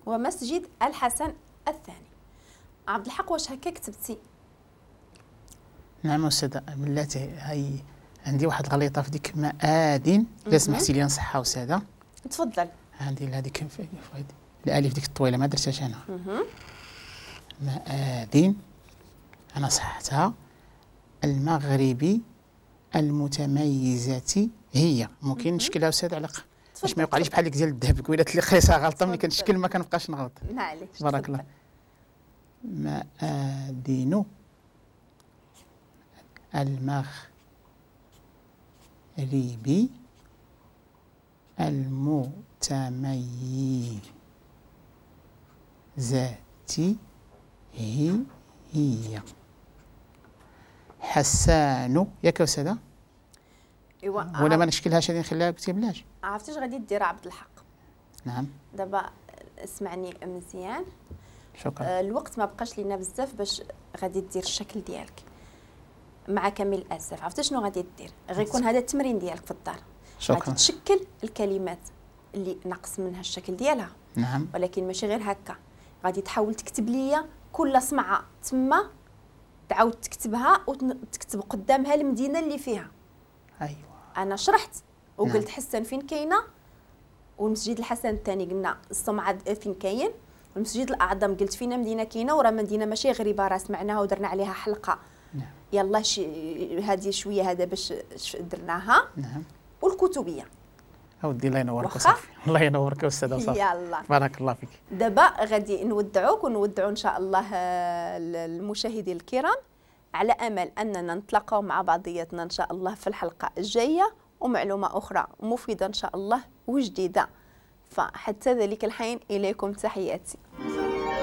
ومسجد الحسن الثاني. عبد الحق واش هكا كتبتي؟ نعم أستاذة، بلاتي هاي عندي واحد الغليطة في ديك مآذن، إلا سمحتي لي نصحها أستاذة. تفضل. عندي هذيك الألف ديك الطويلة ما درتهاش أنا. مآذن أنا صححتها. المغربي المتميزة هي، ممكن نشكلها أستاذ على باش ما يوقعليش بحال ديك ديال الذهب قبيلات اللي قريتها غلطة، ملي كنشكل ما كنبقاش نغلط. معليش. بارك الله. مآذن المغربي المتميزة هي حسان، ياك أستاذة؟ إيوا ولا ما نشكلهاش هذه نخليها بلاش؟ عرفتي اش غادي دير عبد الحق؟ نعم. دابا اسمعني مزيان. شكرا. الوقت ما بقاش لينا بزاف باش غادي دير الشكل ديالك مع كامل الاسف. عرفتي شنو غادي دير؟ غيكون هذا التمرين ديالك في الدار. شكرا. غادي تشكل الكلمات اللي نقص منها الشكل ديالها. نعم. ولكن ماشي غير هكا، غادي تحاول تكتب ليا كل صمعه تما، تعاود تكتبها وتكتب قدامها المدينة اللي فيها. ايوا. انا شرحت وقلت. نعم. حسن فين كاينه، والمسجد الحسن الثاني قلنا الصمعه فين كاين، والمسجد الاعظم قلت فينا مدينة كاينه، وراه مدينة ماشي غريبة راه سمعناها ودرنا عليها حلقة. نعم. يلا هذه شوية هذا باش درناها. نعم. والكتبيه. اودي الله ينورك وصافي. الله ينورك استاذه وصافي. يلا بارك الله فيك. دابا غادي نودعوك ونودعوا ان شاء الله المشاهدين الكرام، على امل اننا نتلاقاو مع بعضياتنا ان شاء الله في الحلقة الجاية ومعلومه اخرى مفيدة ان شاء الله وجديدة. فحتى ذلك الحين اليكم تحياتي.